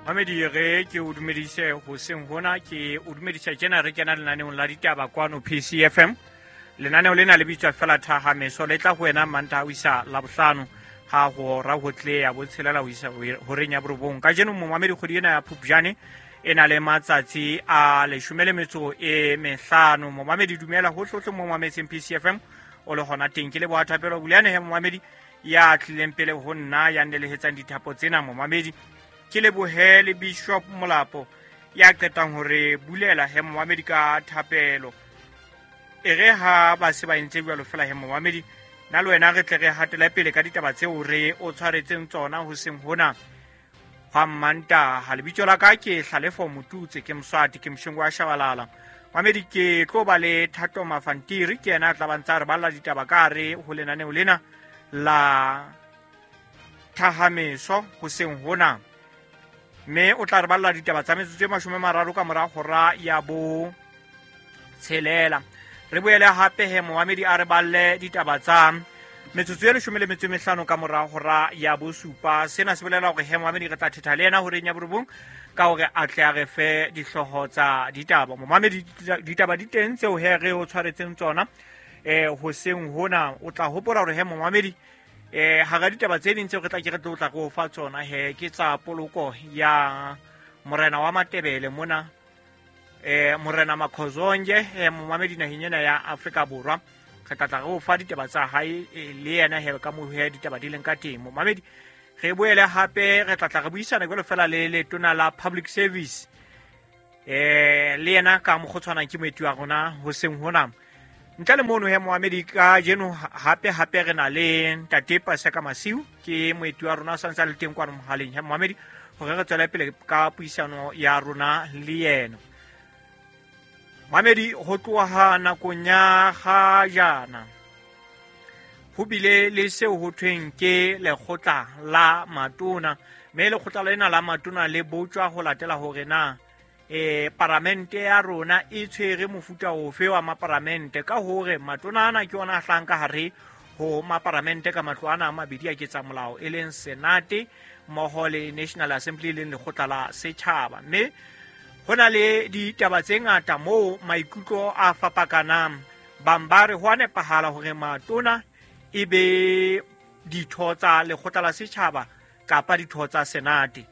Mamedi, re ke o dumedise hoseng hona, ke o dumedisa tjena re kena lenaneong la ditaba kwano PCFM. Lenaneo lena le bitswa fela Thahameso, le tla ho wena Mantaha ho isa Labohlano ha hora ho tle ya botshelela ho isa horeng ya borobong. Kajeno momamedi, kgwedi ena ya Phupjane e na le matsatsi a 15. Momamedi, dumela hohlehohle mo mametseng PCFM o le hona teng. Ke leboha Thapelo Buleane he momamedi ya tlileng pele ho nna, ya nnelehetsang dithapo tsena. Momamedi, ke lebohe le Bishop Molapo ya qetang hore bulela he momamedi ka thapelo. E re ha ba se ba entse jwalo fela he momamedi, nna le wena re tle re hatele pele ka ditaba tseo re o tshwaretseng tsona hoseng hona hwa Mmantaha. Lebitso la ka ke Hlalefo Motutse, ke Moswati, ke Moshengo wa Shabalala. Mamedi, ke tlo ba le Thato Mafantiri, ke yena a tla ba ntsa re balla ditaba ka hare ho lenaneo lena la Thahameso hoseng hona, mme o tla re balla ditaba tsa metsotso e 30 ka mora hora ya bo 6. Re boele hape he momamedi a re balle ditaba tsa metsotso e 15 ka mora hora ya bo 7. Sena se bolela hore he momamedi re tla thetha le yena horeng ya borobong ka hore a tle a re fe dihlooho tsa ditaba. Momamedi, ditaba di teng tseo he re o tshwaretseng tsona hoseng hona. O tla hopola hore he momamedi, hara ditaba tse ding tseo re tla ke re tlo tla re o fa tsona he ke tsa poloko ya morena wa Matebele mona, morena Makhozonje, momamedi, naheng ena ya Afrika Borwa. Re tla tla re o fa ditaba tsa hae le yena he ka moo he ditaba di leng ka teng. Momamedi, re boele hape re tla tla re buisana jwalo fela le letona la Public Service, le yena ka mokgotshwanang ke moeti wa rona hoseng hona. Ntle le mono he moamedi, ka jeno hape hape re na le ntate Paseka Masiu, ke moeti wa rona, sa ntse a le teng kwano mohaleng he moamedi, hore re tswele pele ka puisano ya rona le yena. Moamedi, ho tloha nakong ya ga jana ho bile le seo ho thweng ke lekgotla la matona, mme lekgotla lena la matona le botjwa ho latela hore na paramente ya rona e tshwere mofuta ofe wa maparamente, ka hore matona ana ke ona a hlahang ka hare ho maparamente ka matlo ana a mabedi a ketsa molao, e leng Senate mmoho le National Assembly, e leng lekgotla la setjhaba. Mme ho na le ditaba tse ngata moo maikutlo a fapakanang. Bang ba re ho a nepahala hore matona e be ditho tsa lekgotla la setjhaba kapa ditho tsa Senate.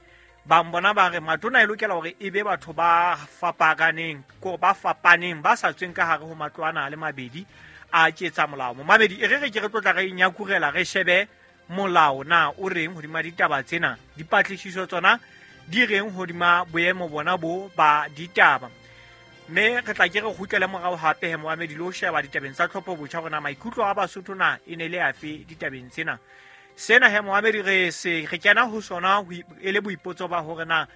Bang bona ba re matona e lokela hore e be batho ba fapakaneng, ko ba fapaneng, ba sa tsweng ka hare ho matlo ana a le mabedi a ketsa molao. Momamedi, e re re ke re tlotla re nyakurela, re shebe molao na o reng hodima ditaba tsena, dipatlisiso tsona di reng hodima boemo bona bo ba ditaba, mme re tla ke re kgutlele morao hape he moamedi le ho sheba ditabeng tsa tlhopho botjha hore na maikutlo a Basotho na e ne le afe ditabeng tsena. Sena he moamedi re se re kena ho sona e le boipotso ba hore na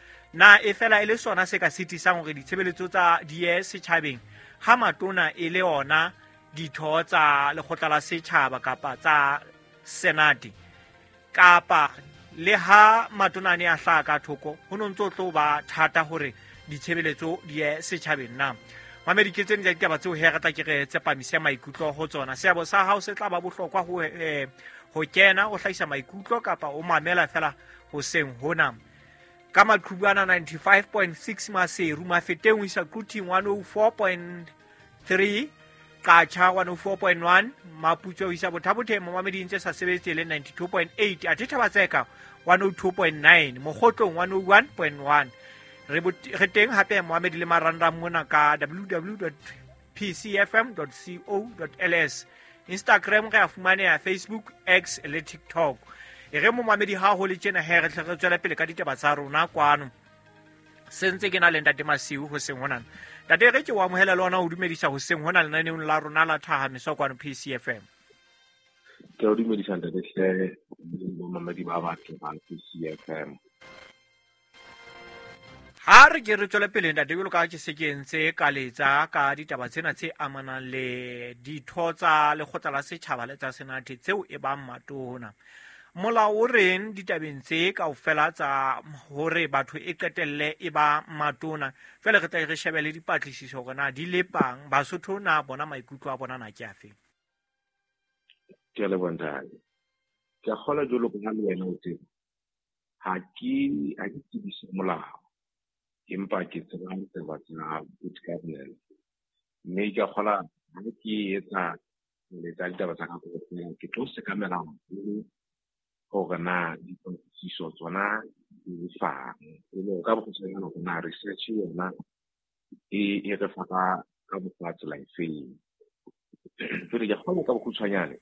e fela e le sona se ka sitisang hore ditshebeletso tsa di ye setjhabeng ha matona e le ona ditho tsa lekgotla la setjhaba kapa tsa Senate, kapa le ha matona a ne a hlaha ka thoko ho no ntso tlo ba thata hore ditshebeletso di ye setjhabeng na. Mamedi, ke tsene tsa ditaba tseo he re tla ke re tsepamise maikutlo ho tsona. Seabo sa hao se tla ba bohlokwa ho kena o hlahisa maikutlo kapa o mamela fela hoseng hona ka maqhubu ana 95.6 Maseru, Mafeteng ho isa Quthing 104.3, Qacha 104.1, Maputswe ho isa Bothabotheng momamedi ntse sa sebetse le 92.8, athe Thabatseka 102.9, Mokgotlong 101.1. Re teng hape moamedi le marangrang mona ka www.pcfm.co.ls. Instagram re a fumaneha, Facebook, X le TikTok. E re momamedi ha ho le tjena he re tle re tswele pele ka ditaba tsa rona kwano. Se ntse ke na le ntate Masiu hoseng hona. Ntate, re ke o amohela le ona ho dumedisa hoseng hona lenaneong la rona la Thahameso kwano PCFM. Ke o dumedisa, ntate hle, bomamedi ba batho ba PCFM. Ha re ke re tswele pele, ntate, jwalo ka ke se ke entse ka letsa ka ditaba tsena tse amanang le ditho tsa lekgotla la setjhaba le tsa Senate tseo e bang matona. Molao o reng ditabeng tse kaofela tsa hore batho e qetelle e ba matona? Jwale re tla re shebe le dipatlisiso hore na di lepang Basotho, na bona maikutlo a bona na ke afeng. Ke a leboha, ntate. Ke a kgolwa jwalo ka ha le wena o tseba. Ha ke tsebise molao, empa ke tseba ditaba tsa good governance. Mme ke a kgola ha ke etsa letsa ditaba tsa ka kaofela, ke tlo sekamela haholo hore na dipatlisiso tsona di fang. E le hore ka bokgutshwanyane hore na research yona e re fa ka mokgwa tsela efeng. Jwale ke kgolwa ka bokgutshwanyane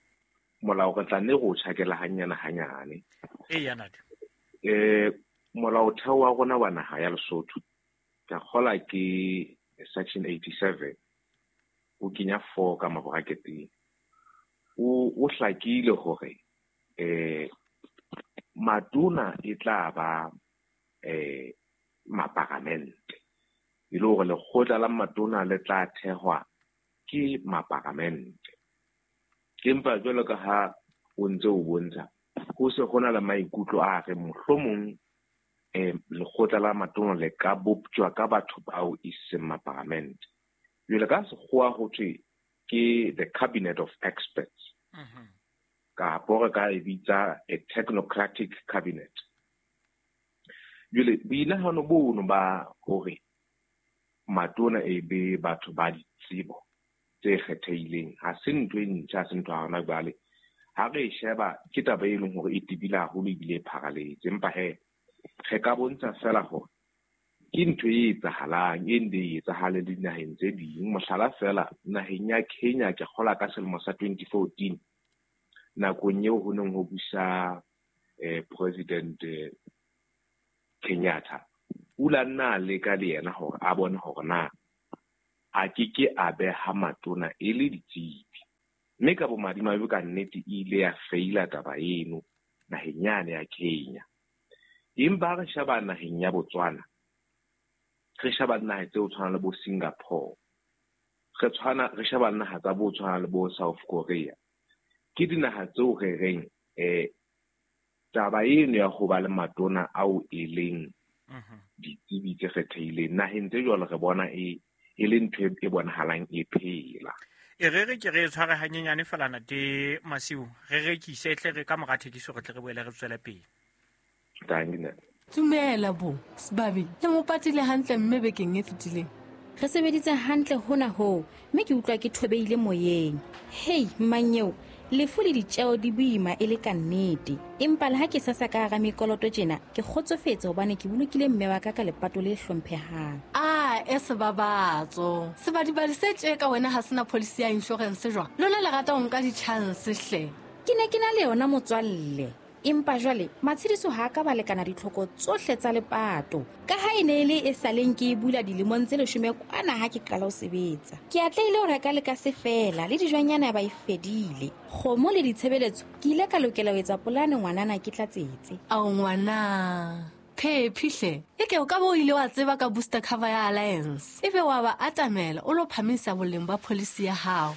molao re tla nne re o tjhakela hanyane hanyane. Eya, Nate. Molaotheo wa rona wa naha ya Lesotho ke a kgola ke section 87 o kenya 4 ka maboraketeng. O hlakile hore matona e tla ba maparamente, e le hore lekgotla la matona le tla thehwa ke maparamente. Empa jwalo ka ha o ntse o bontsha, ho se ho na le maikutlo a re mohlomong lekgotla la matona le ka boptjwa ka batho bao e seng maparamente. Jwale ka sekgowa ho thwe ke the cabinet of experts. Kapo re ka e bitsa a technocratic cabinet. Jwale boinahano bono ba hore matona e be batho ba ditsebo tse kgethehileng ha se ntho e ntjha, ha se ntho ya hona jwale. Ha re e sheba ke taba e leng hore e tebile haholo ebile e pharaletse, empa he re ka bontsha fela hore ke ntho e etsahalang, e nne e etsahale le dinaheng tse ding. Mohlala fela, naheng ya Kenya ke kgola ka selemo sa 2014, nakong eo ho neng ho busa President Kenyatta, o la nna a leka le yena hore a bone hore na a ke ke a beha matona e le ditsebi. Mme ka bomadimabe ka nnete e ile ya feila taba eno naheng yane ya Kenya. Empa re sheba naheng ya Botswana, re sheba naha tseo tshwana le bo Singapore, re sheba naha tsa bo tshwana le bo South Korea. Ke dinaha tseo re reng taba eno ya ho ba le matona ao e leng ditsebi tse kgethehileng naheng tse jwalo re bona e le ntho e bonahalang e phela. E re re ke re tshware hanyenyane fela Nate Masiu, re rekise tle re ka mora thekiso re tle re boele re tswele pele. Dumela bo, Sebabi, le mo patile hantle mme bekeng e fetileng. Re sebeditse hantle hona hoo, mme ke utlwa ke thobeile moyeng. Hei, mmanyeo, lefu le ditjeo di boima e le ka nnete. Empa le ha ke sasa ka hara mekoloto tjena, ke kgotsofetse hobane ke bolokile mme wa ka ka lepato le hlomphehang. A e sebabatso. Sebadibadi se tje ka wena ha sena policy ya insurance jwang? Lona le rata ho nka di-chance hle. Ke ne ke na le yona motswalle. Empa jwale matshediso ha ka ba lekana ditlhoko tsohle tsa lepato. Ka ha e ne e le e saleng ke e bula dilemong tse 10 kwana ha ke qala ho sebetsa. Ke atlehile ho reka le ka se fela le dijwanyana ba e fedile. Kgomo le ditshebeletso ke ile ka lokela ho etsa polane ngwanana ke tlatsetse. Ao ngwana, phephi hle. E ke o ka bo ile wa tseba ka booster cover ya Alliance. Ebe wa ba atamela o lo phamisa boleng ba policy ya hao.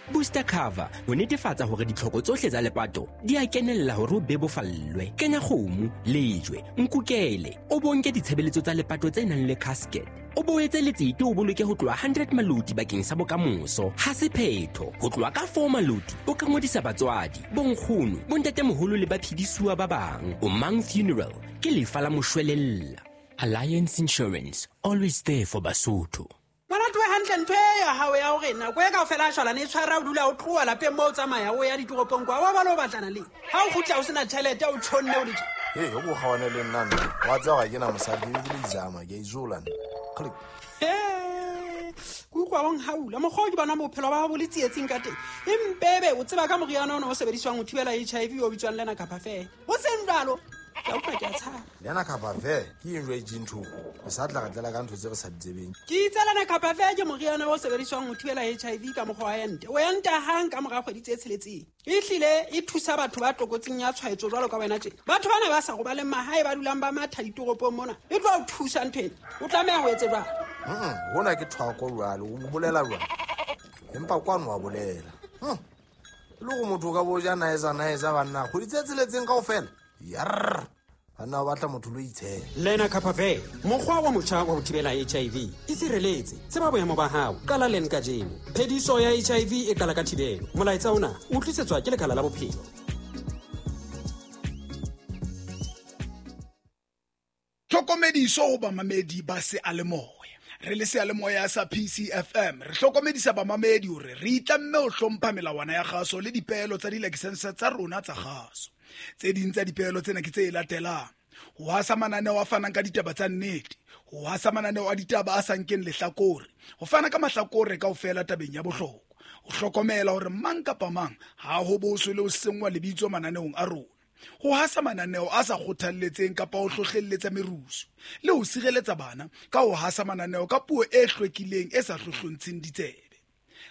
Booster cover ho netefatsa hore ditlhoko tsohle tsa lepato di a kenella hore o bebofallwe. Kenya kgomo, lejwe, nkukele, o bonke ditshebeletso tsa lepato tse nang le casket. O boetse letsete o boloke ho tloha 100 maloti bakeng sa bokamoso. Ha se phetho, ho tloha ka 4 maloti o ka ngodisa batswadi, bonkgono, bontatemoholo le baphedisuwa ba bang. O Mang Funeral ke lefa la moshwelella. Alliance Insurance, always there for Basotho. Ngwana hantle ntho e ya hao ya hore nako e kaofela a shwalane e tshwara o dula o tloha lapeng moo o tsamaya o ya ditoropong kwa, wa ba le o batlana le. Ha o kgutla o sena tjhelete o tjhonne o le tje. Hei, o kgawane le nna nna. Wa tseba ga ke na mosadi, ke le izama, ke a izola nna. Click. Ke utlwa o nhaula. Mokgwa o ke bona bophelo ba hao bo le tsietsing ka teng. Empebe o tseba ka moriana ona o sebediswang ho thibela HIV o bitswang Lena Capafe. Ho seng jwalo, ke a utlwa ke a tshaba. Lena Capafe ke eng jwale e ntho? Re sa tla re tlela ka ntho tse re sa di tsebeng. Ke itse Lena Capafe ke moriana o sebediswang ho thibela HIV ka mokgwa wa ente. O enta hang ka mora kgwedi tse 6. Ehlile e thusa batho ba tlokotsing ya tshwaetso jwalo ka wena tje. Batho bana ba sa robaleng mahae ba dulang ba matha ditoropong mona. E tlo o thusa ntho ena. O tlameha ho etse jwang? Hona ke thwako jwale, o bolela jwang? Empa kwano wa bolela. Le go motho ka bo ja naeza banna, kgwedi tse 6 kaofela. Yarr. Banna ba batla motho lo itshela. Lena Capafe, mokgwa wa motjha wa ho thibela HIV. E sireletse, tseba boemo ba hao, qala leng kajeno. Phediso ya HIV e qala ka thibelo. Molaetsa ona o tlisetswa ke Lekala la Bophelo. Tlhokomediso ho bamamedi ba seyalemoya. Re le seyalemoya sa PCFM re hlokomedisa bamamedi hore re itlamme ho hlompha melawana ya kgaso le dipeelo tsa dilakesense tsa rona tsa kgaso. Tse ding tsa dipeelo tsena ke tse latelang: ho hasa mananeo a fanang ka ditaba tsa nnete, ho hasa mananeo a ditaba a sa nkeng lehlakore, ho fana ka mahlakore kaofela tabeng ya bohlokwa, ho hlokomela hore mang kapa mang ha ho boswe le ho senngwa lebitso mananeong a rona, ho hasa mananeo a sa kgothalletseng kapa ho hlohlelletsa merusu, le ho sireletsa bana ka ho hasa mananeo ka puo e hlwekileng e sa hlohlontsheng ditsebe.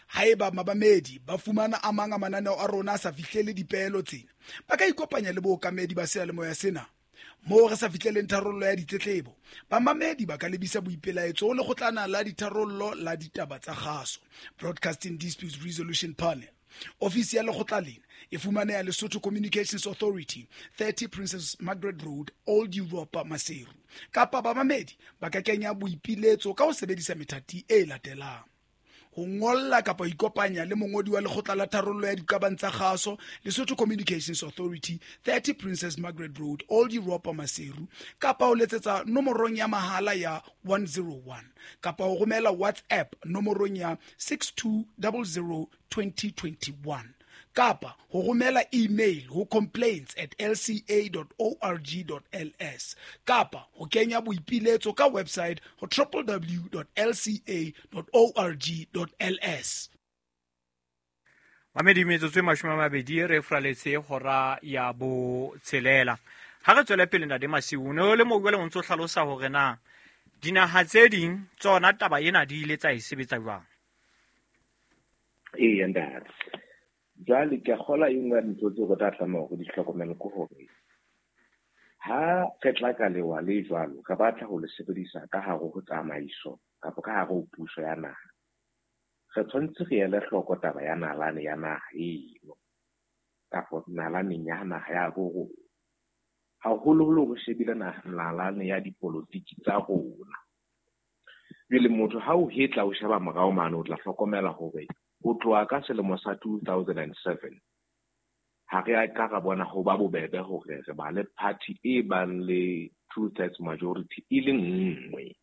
Haeba mabamedi ba fumana a mang a mananeo a rona a sa fihlele dipeelo tsena, ba ka ikopanya le bookamedi ba seyalemoya sena. Moo re sa fihleleng tharollo ya ditletlebo, bamamedi ba ka lebisa boipelaetso ho lekgotlana la ditharollo la ditaba tsa kgaso, Broadcasting Disputes Resolution Panel. Ofisi ya lekgotla lena e fumaneha Lesotho Communications Authority, 30 Princess Margaret Road, Old Europa, Maseru. Kapa bamamedi ba ka kenya boipiletso ka ho sebedisa methati e latelang: ho ngolla kapa ho ikopanya le mongodi wa lekgotla la tharollo ya diqabang tsa kgaso, Lesotho Communications Authority, 30 Princess Margaret Road, Old Europa, Maseru, kapa ho letsetsa nomorong ya mahala ya 101, kapa ho romela WhatsApp nomorong ya 6200 2021, kapa ho romela email ho complaints@lca.org.ls, kapa ho kenya boipiletso ka website ho www.lca.org.ls. Mamedi, metsotso e 20 re furaletse hora ya 6. Ha re tswele pele, Ntate Masiu, ne o le moo jwale o ntso hlalosa hore na dinaha tse ding tsona taba ena di ile tsa e sebetsa jwang. Eya ntate, jwale ke a kgolwa e nngwe ya dintho tseo re tla tlameha hore di hlokomele ke hore ha re tla ka lewa le jwalo, re batla ho le sebedisa ka hare ho tsamaiso kapa ka hare ho puso ya naha, re tshwanetse re ele hloko taba ya nalane ya naha eno kapa nalaneng ya naha ya bo rona, haholoholo re shebile nalane ya dipolotiki tsa rona. Jwale motho ha o hetla o sheba morao mane, o tla hlokomela hore ho tloha ka selemo sa 2007 ha re a ka ra bona ho ba bobebe hore re ba le party e bang le 2/3 majority e le nngwe.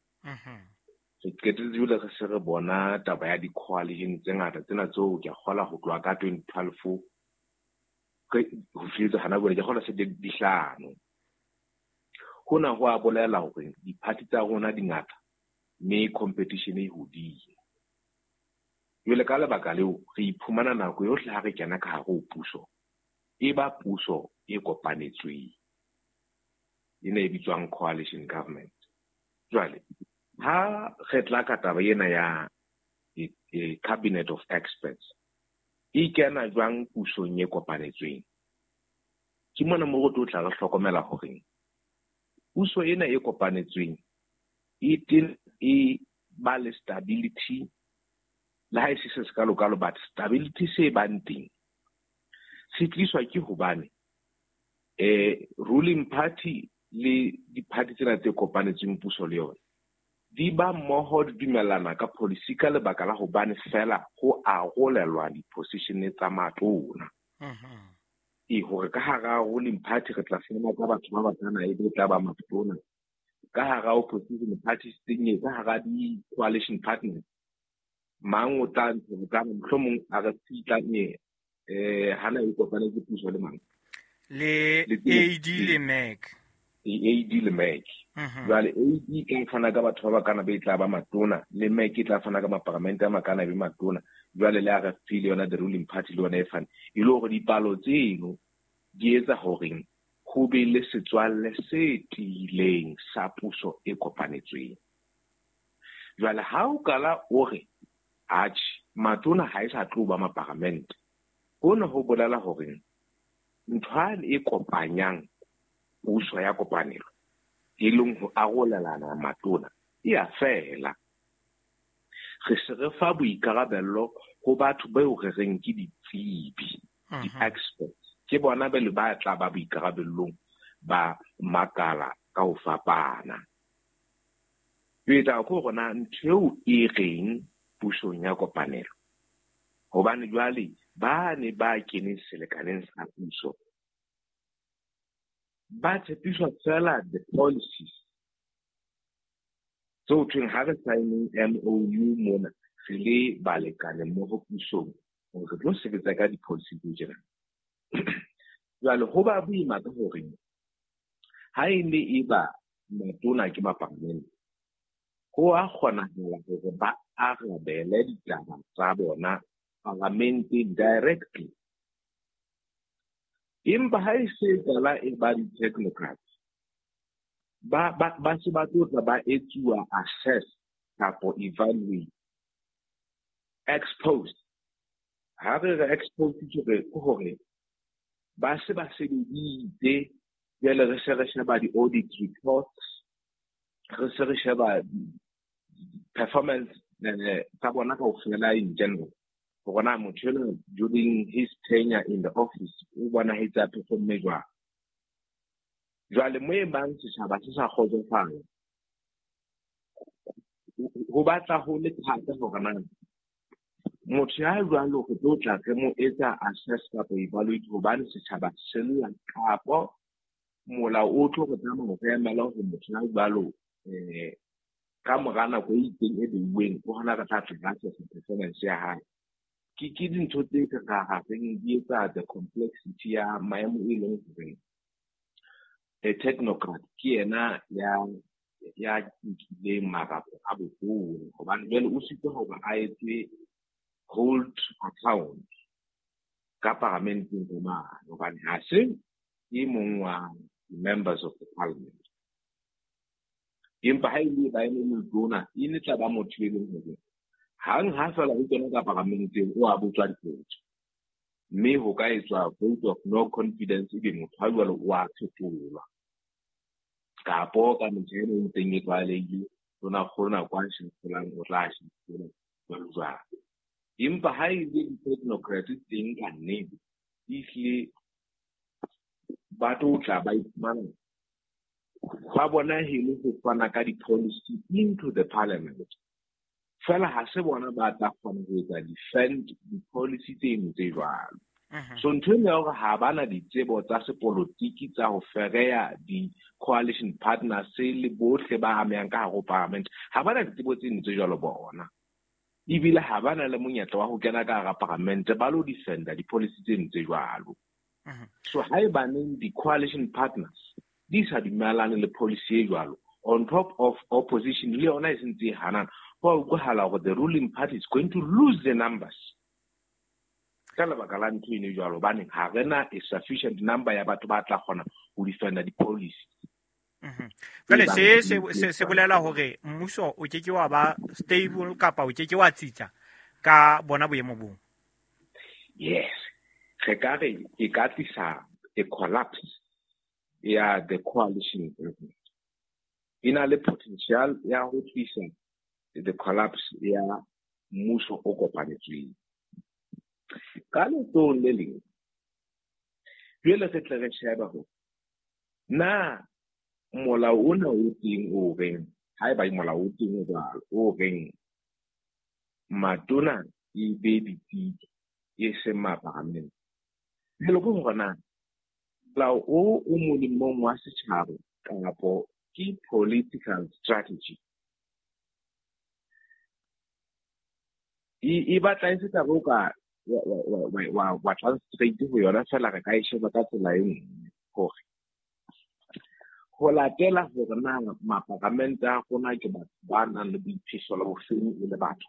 Re qetetse jwale re se re bona taba ya di-coalition tse ngata tsena tseo ke a kgolwa ho tloha ka 2012 ho fihletse hana jwale, ke a kgolwa se di hlano. Hona ho a bolela hore di-party tsa rona di ngata mme competition e hodimo. Jwale ka lebaka leo re iphumana nako yohle ha re kena ka hare ho puso, e ba puso e kopanetsweng, ena e bitswang coalition government. Jwale ha re tla ka taba ena ya cabinet of experts, e kena jwang pusong e kopanetsweng? Ke mona mo re tlo tla re hlokomela hore puso ena e kopanetsweng e teng e ba le stability, le ha e se se sekalo-kalo, but stability se bang teng se tliswa ke hobane ruling party le di-party tsena tse kopanetsweng puso le yona di ba mmoho, di dumellana ka policy ka lebaka la hobane fela ho arolelwa di-position tsa matona. E hore ka hara ruling party re tla fumana ka batho ba bakana e be tla ba matona, ka hara opposition parties teng, ka hara di-coalition partners mang o tla ntsha ka mohlomong a re fitla hana e kopanetse puso le mang, le AD le MEC, AD le MEC. Jwale AD e tla fana ka batho ba bakana be tla ba matona, le MEC e tla fana ka maparamente a makana be matona. Jwale le RFP le yona the ruling party le yona e fane, e le hore dipalo tseno di etsa hore ho be le setswalle se tiileng sa puso e kopanetsweng. Jwale ha o kala o re atjhe matona ha e sa tlo ba maparamente, hona ho bolela hore ntho e kopanyang puso ya kopanelo e leng ho arolelana matona e a fela. Re se re fa boikarabello ho batho bao re reng ke ditsebi, di-experts, ke bona ba le ba tla ba boikarabellong ba makala ka ho fapana. Jwale ko rona ntho eo e reng pusong ya kopanelo, hobane jwale ba ne ba keneng selekaneng sa puso ba tshepiswa fela the policies So thweng ha re sign MOU mona re le balekane mmoho pusong hore re tlo sebetsa ka di-policy tse tjena. Jwale ho ba boima ka hore ha e ne e ba matona ke mapalamente, ho a kgonahala hore ba arabele ditaba tsa bona parlamenteng directly. Empa ha e se qala e ba di-technocrats, ba se ba tlo tla ba etsuwa assess kapo evaluate ex post. Ha re re ex post ke hore ba se ba sebeditse, jwale re se re sheba di-audit reports, re se re sheba performance tsa bona kaofela in general. Hore na motho enwa during his tenure in the office o bonahetse a performme jwang. Jwale mo e bang setjhaba se sa kgotsofala, ho batla ho le thata hore na motho ya jwalo re tlo tla re mo etsa assess kapa evaluate hobane setjhaba se lla, kapo molao o tlo re tsamaya re emela hore motho ya jwalo ka mora nako e itseng e beuweng ke hona re tla tla re assess performance ya hae. Ke dintho tse ka reng di etsa the complexity ya maemo e leng hore a technocrat ke yena ya nkileng marapo a boholo, hobane jwale o sitwa hore a etse hold account ka paramenteng ka mane, hobane ha se e mong wa members of the parliament. Empa ha e le ba eme letona, e ne tla ba motho e leng hore hang ha fela ho kena ka paramenteng o a botswa dipotso, mme ho ka etswa vote of no confidence ebe motho ha jwalo o a fetolwa. Kapo ka metjha ena e ntseng e tlwaelehile, tonakgolo nako a shafolang o tla shafola jwalo jwalo. Empa ha e le di-technocrats teng ka nnete, ehlile ba tlo tla ba iphumana ba bona hele ho fana ka di-policy into the parliament. Fela ha se bona ba tla kgona ho etsa defend di-policy tseno tse jwalo. So ntho ena ya hore ha bana ditsebo tsa sepolotiki tsa ho fereya di-coalition partners le bohle ba amehang ka hare ho parliament, ha bana ditsebo tseno tse jwalo bona. Ebile ha bana le monyetla wa ho kena ka hara parliament ba lo defenda di-policy tseno tse jwalo. So haebaneng di-coalition partners di sa dumellane le policy e jwalo, on top of opposition le yona e sentse e hanana, ho a utlwahala hore the ruling party is going to lose the numbers. Ka lebaka la ntho eno jwalo, hobane ha re na a sufficient number ya batho ba tla kgona ho defenda di-policy. Jwale se bolela hore mmuso o ke ke wa ba stable kapa o ke ke wa tsitsa ka bona boemo boo. Yes, re ka re e ka tlisa a collapse ya the coalition government. E na le potential ya ho tlisa the collapse ya mmuso o kopanetsweng. Ka letsohong le leng, jwale re tle re shebe hore na molao ona o teng o reng, haeba molao o teng o jwalo o reng matona e be ditsebi e seng mapalamente, jwale ke hore na molao o molemong wa setjhaba kapo ke political strategy. E batla e se taba o ka wa translate ho yona fela, re ka e sheba ka tsela e nngwe hore ho latela hore na mapalamente a rona ke batho ba nang le boiphihlelo bofeng e le batho.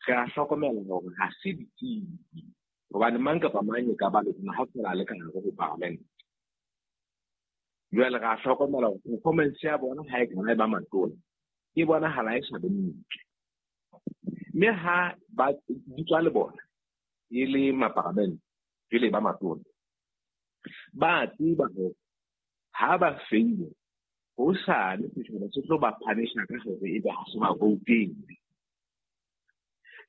Re a hlokomela hore ha se ditsebi, hobane mang kapa mang e ka ba le tsona ha fela a le ka hare ho parliament. Jwale re a hlokomela hore performance ya bona ha e kana e ba matona, e bonahala e sa be ntle. Mme ha ba di tswa le bona e le mapalamente, jwale ba matona, ba tseba hore ha ba feile hosane setjhaba se tlo ba punisha ka hore ebe ha se ba voutele.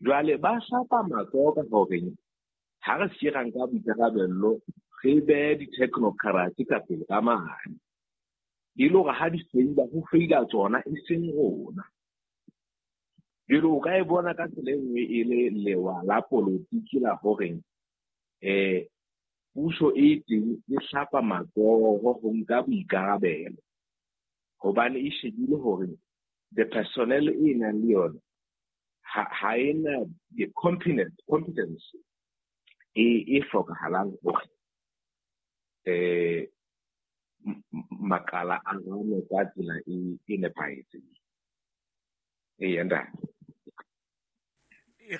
Jwale ba hlapa matsoho ka hore ha re se ra nka boikarabello, re behe di-technocrats ka pele ka mane, e le hore ha di feila, ho feila tsona e seng rona. Jwale o ka e bona ka tsela e nngwe e le lewa la polotiki la hore puso e teng e hlapa matsoho ho nka boikarabelo, hobane e shebile hore The personnel e nang le yona ha e na the competence e hlokahalang hore makala a rane ka tsela e nepahetseng. Eya ntate.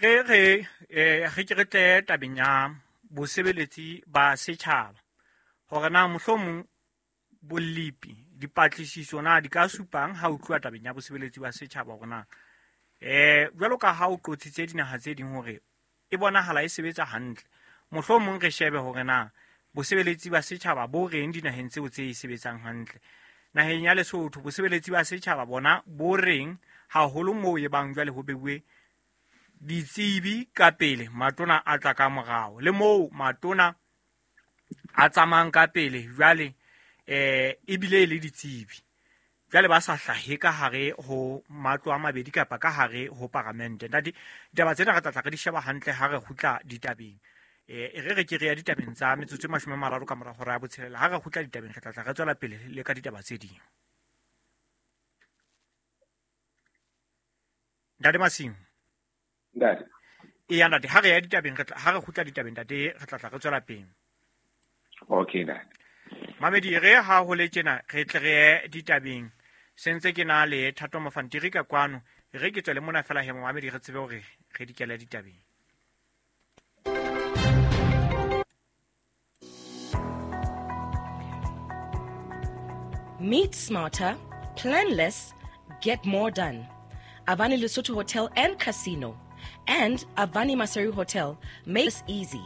Re ke re tle tabeng ya bosebeletsi ba setjhaba hore na mohlomong bolepi dipatlisiso na di ka supang ha o tluwa tabeng ya bosebeletsi ba setjhaba hore na jwalo ka ha o qotsitse dinaha tse ding hore e bonahala e sebetsa hantle, mohlomong re shebe hore na bosebeletsi ba setjhaba bo reng dinaheng tseo tse e sebetsang hantle. Naheng ya Lesotho bosebeletsi ba setjhaba bona bo reng haholo moo e bang jwale ho beuwe ditsebi ka pele, matona a tla ka morao, le moo matona a tsamayang ka pele jwale ebile e le ditsebi jwale ba sa hlahe ka hare ho matlo a mabedi kapa ka hare ho paramente. Ntate, ditaba tsena re tla tla re di sheba hantle ha re kgutla ditabeng. Re re ke re ya ditabeng tsa metsotso e 30 ka mora hora ya botshelela. Ha re kgutla ditabeng re tla tla re tswela pele le ka ditaba tse ding. Ntate Masingo. Ntate. Eya ntate, ha re ya ditabeng re tla ha re kgutla ditabeng ntate re tla tla re tswela pele. Okay ntate. Mamedi re ha ho le tjena re tle re ye ditabeng. Sentse ke na le Thato Mafantiri ka kwano, re ke tswele mona fela he mamedi re tsebe hore re dikele ditabeng. Meet smarter, plan less, get more done. Avani Lesotho Hotel and Casino and Avani Maseru Hotel makes easy.